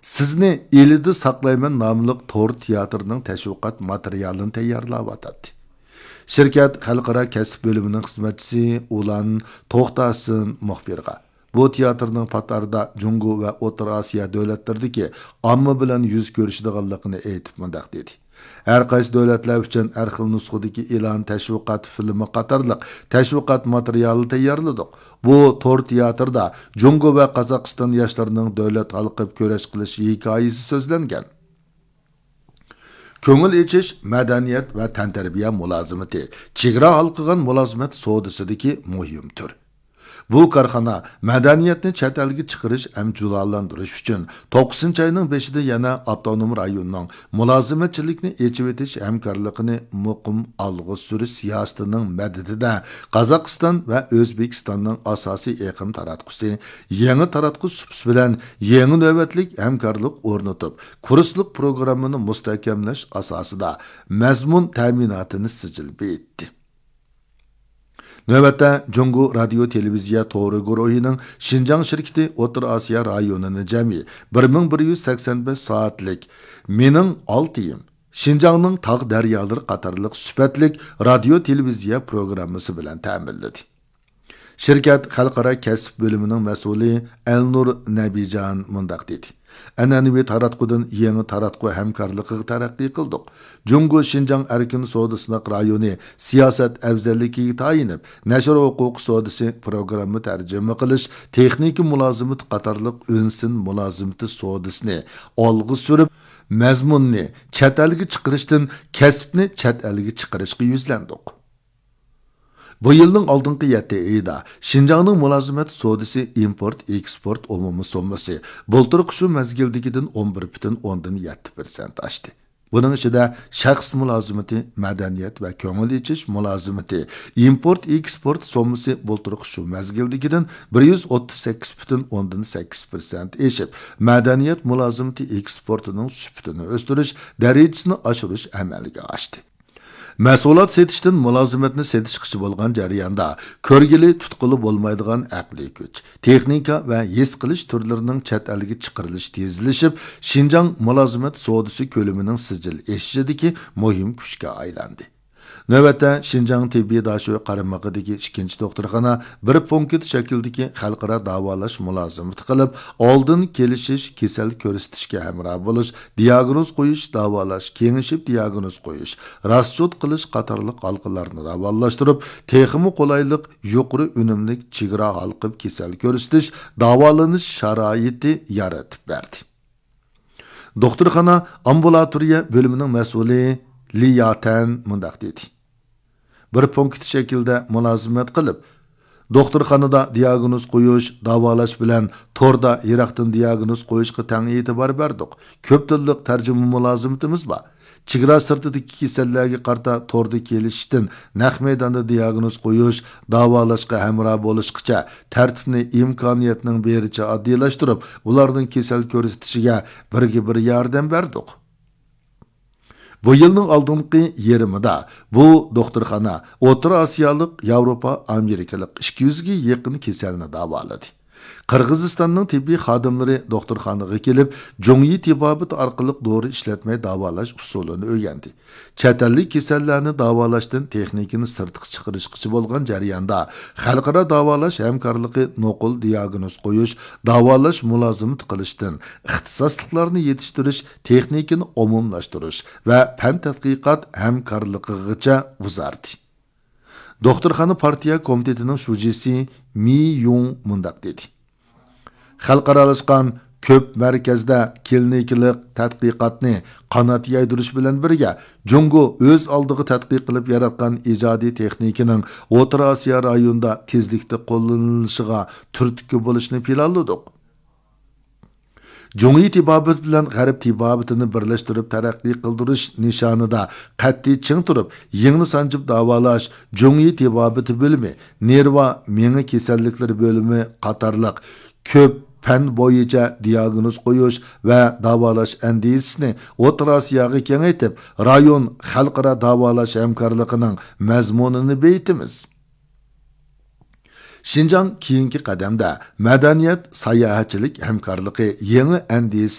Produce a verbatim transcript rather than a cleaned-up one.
سىزنى ئىلىدا ساقلايمەن ناملىق تور تىياتىرىنىڭ تەشۋىقات ماتېرىيالىنى تەييارلاۋاتاتتى. شىركەت خەلقئارا كەسىپ بۆلۈمىنىڭ خىزمەتچىسى ئۇلان توختاسىن مۇخبىرغا، بۇ تىياتىرنىڭ پات ئارىدا جۇڭگو ۋە ئوتتۇرا ئاسىيا دۆلەتلىرىدىكى ئامما بىلەن يۈز كۆرۈشىدىغانلىقىنى ئېيتىپ مۇنداق دېدى: ھەر قايسى دۆلەتلەر ئۈچۈن ھەر خىل نۇسخىدىكى ئېلان، تەشۋىقات فىلىمى قاتارلىق تەشۋىقات ماتېرىيالى تەييارلىدۇق. بۇ تور تىياتىردا جۇڭگو ۋە قازاقىستان ياشلىرىنىڭ دۆلەت ھالقىپ كۈرەش قىلىش ھېكايىسى سۆزلەنگەن. كۆڭۈل ئېچىش، مەدەنىيەت ۋە تەنتەربىيە مۇلازىمىتى، چېگرا ھالقىغان مۇلازىمەت سودىسىدىكى مۇھىم تۈر. بۇ كارخانا مەدەنىيەتنى چەت ئەلگە چىقىرىش ھەم جۇلالاندۇرۇش ئۈچۈن توققۇزىنچى ئاينىڭ بېشىدا يەنە ئاپتونوم رايوننىڭ مۇلازىمەتچىلىكنى ئېچىۋېتىش ھەمكارلىقىنى مۇقىم ئالغا سۈرۈش سىياسىتىنىڭ مەدىتىدە قازاقىستان ۋە ئۆزبېكىستاننىڭ ئاساسىي ئېقىم تاراتقۇسى، يېڭى تاراتقۇ سۇپىسى بىلەن يېڭى نۆۋەتلىك ھەمكارلىق ئورنىتىپ، كۇرسلۇق پروگراممىنى مۇستەھكەملەش ئاساسىدا مەزمۇن تەمىناتىنى سىجىل بېيىتتى. نۆۋەتتە، جۇڭگو رادىيو تېلېۋىزىيە تورى گۇرۇھىنىڭ شىنجاڭ شىركىتى ئوتتۇرا ئاسىيا رايونىنى جەمئىي بىر مىڭ بىر يۈز سەكسەن بەش سائەتلىك مېنىڭ ئالتىيىم، شىنجاڭنىڭ تاغ دەريالىرى قاتارلىق سۈپەتلىك رادىيو تېلېۋىزىيە پروگراممىسى بىلەن تەمىنلىدى. شىركەت خەلقئارا كەسىپ بۆلۈمىنىڭ مەسئۇلى ئەلنۇر نەبىجان مۇنداق دېدى: ئەنئەنىۋى تاراتقۇدىن يېڭى تاراتقۇ ھەمكارلىقىغا تەرەققىي قىلدۇق. جۇڭگو شىنجاڭ ئەركىن سودا سىناق رايونى سىياسەت ئەۋزەللىكىگە تايىنىپ، نەشر ھوقۇقى سودىسى پروگرامما تەرجىمە قىلىش، تېخنىكا مۇلازىمىتى قاتارلىق ئۈنسىن مۇلازىمىتى سودىسىنى ئالغا سۈرۈپ، مەزمۇننى چەت ئەلگە چىقىرىشتىن كەسىپنى چەت ئەلگە چىقىرىشقا يۈزلەندۇق. بۇ يىلنىڭ ئالدىنقى يەتتە ئېيىدا شىنجاڭنىڭ مۇلازىمەت سودىسى ئىمپورت ئېكسپورت ئومۇمىي سوممىسى بۇلتۇرقى شۇ مەزگىلدىكىدىن ئون بىر پۈتۈن ئوندىن يەتتە پىرسەنت ئاشتى. بۇنىڭ ئىچىدە شەخس مۇلازىمىتى، مەدەنىيەت ۋە كۆڭۈل ئېچىش مۇلازىمىتى، ئىمپورت ئېكسپورت سوممىسى بۇلتۇرقى شۇ مەزگىلدىكىدىن بىر يۈز ئوتتۇز سەككىز پۈتۈن ئوندىن سەككىز پىرسەنت ئېشىپ، مەدەنىيەت مۇلازىمىتى ئېكسپورتىنىڭ سۈپىتىنى ئۆستۈرۈش دەرىجىسىنى ئاشۇرۇش ئەمەلگە ئاشتى. مەھسۇلات سېتىشتىن مۇلازىمەتنى سېتىشقىچە بولغان جەرياندا كۆرگىلى، تۇتقىلى بولمايدىغان ئەقلىي كۈچ، تېخنىكا ۋە ھېس قىلىش تۈرلىرىنىڭ چەت ئەلگە چىقىرىلىشى تېزلىشىپ، شىنجاڭ مۇلازىمەت سودىسى كۆلىمىنىڭ سىجىل ئېشىشىدىكى مۇھىم كۈچكە ئايلاندى. نۆۋەتتە، شىنجاڭ تېببىي داشۆ قارمىقىدىكى ئىككىنچى دوختۇرخانا بىر پونكىت شەكلىدىكى خەلقئارا داۋالاش مۇلازىمىتى قىلىپ، ئالدىن كېلىشىش، كېسەل كۆرسىتىشكە ھەمراھ بولۇش، دىياگنوز قويۇش، داۋالاش، كېڭىشىپ دىياگنوز قويۇش، راسچوت قىلىش قاتارلىق ھالقىلارنى راۋانلاشتۇرۇپ، تېخىمۇ قولايلىق، يۇقىرى ئۈنۈملۈك، چېگرا ھالقىپ كېسەل كۆرسىتىش، داۋالىنىش شارائىتى يارىتىپ بەردى. دوختۇرخانا ئامبۇلاتورىيە بۆلۈمىنىڭ مەسئۇلى لى ياتەن مۇنداق دېدى: بىر پونكىت شەكلىدە مۇلازىمەت قىلىپ، دوختۇرخانىدا دىياگنوز قويۇش، داۋالاش بىلەن توردا يىراقتىن دىياگنوز قويۇشقا تەڭ ئېتىبار بەردۇق. كۆپ تىللىق تەرجىمە مۇلازىمىتىمىز بار. چېگرا سىرتىدىكى كېسەللەرگە قارىتا توردا كېلىشىشتىن نەق مەيداندا دىياگنوز قويۇش، داۋالاشقا ھەمراھ بولۇشقىچە تەرتىپنى ئىمكانىيەتنىڭ بېرىچە ئاددىيلاشتۇرۇپ، ئۇلارنىڭ كېسەل كۆرسىتىشىگە بىرگە بىر ياردەم بەردۇق. بۇ يىلنىڭ ئالدىنقى يېرىمىدا بۇ دوختۇرخانا ئوتتۇرا ئاسىيالىق، ياۋروپا، ئامېرىكىلىق ئىككى يۈزگە يېقىن كېسەلنى داۋالىدى. قىرغىزىستاننىڭ تېببىي خادىملىرى دوختۇرخانىغا كېلىپ، جۇڭيى تېبابىتى ئارقىلىق دورا ئىشلەتمەي داۋالاش ئۇسۇلىنى ئۆگەندى. چەت ئەللىك كېسەللەرنى داۋالاشتىن تېخنىكىنى سىرتقا چىقىرىشقىچە بولغان جەرياندا، خەلقئارا داۋالاش ھەمكارلىقى نوقۇل دىياگنوز قويۇش، داۋالاش مۇلازىمىتى قىلىشتىن ئىختىساسلىقلارنى يېتىشتۈرۈش، تېخنىكىنى ئومۇملاشتۇرۇش ۋە پەن تەتقىقات ھەمكارلىقىغىچە ئۇزاردى. دوختۇرخانا پارتىيە كومىتېتىنىڭ شۇجىسى مى يۇڭ مۇنداق دېدى: خەلقئارالاشقان كۆپ مەركەزدە كلىنىكىلىق تەتقىقاتنى قانات يايدۇرۇش بىلەن بىرگە، جۇڭگو ئۆز ئالدىغا تەتقىق قىلىپ ياراتقان ئىجادىي تېخنىكىنىڭ ئوتتۇرا ئاسىيا رايونىدا تېزلىكتە قوللىنىلىشىغا تۈرتكە بولۇشنى پىلانلىدۇق. جۇڭيى تېبابىتى بىلەن غەرب تېبابىتىنى بىرلەشتۈرۈپ تەرەققىي قىلدۇرۇش نىشانىدا قەتئىي چىڭ تۇرۇپ، يىڭنە سانجىپ داۋالاش، جۇڭيى تېبابىتى بۆلۈمى، نېرۋا، مېڭە كېسەللىكلىرى بۆلۈمى قاتارلىق كۆپ پەن بويىچە دىياگنوز قويۇش ۋە داۋالاش ئەندىزىسىنى ئوتتۇرا ئاسىياغا كېڭەيتىپ، رايون خەلقئارا داۋالاش ھەمكارلىقىنىڭ مەزمۇنىنى بېيىتىمىز. شىنجاڭ كېيىنكى قەدەمدە مەدەنىيەت، ساياھەتچىلىك ھەمكارلىقى يېڭى ئەندىزىسى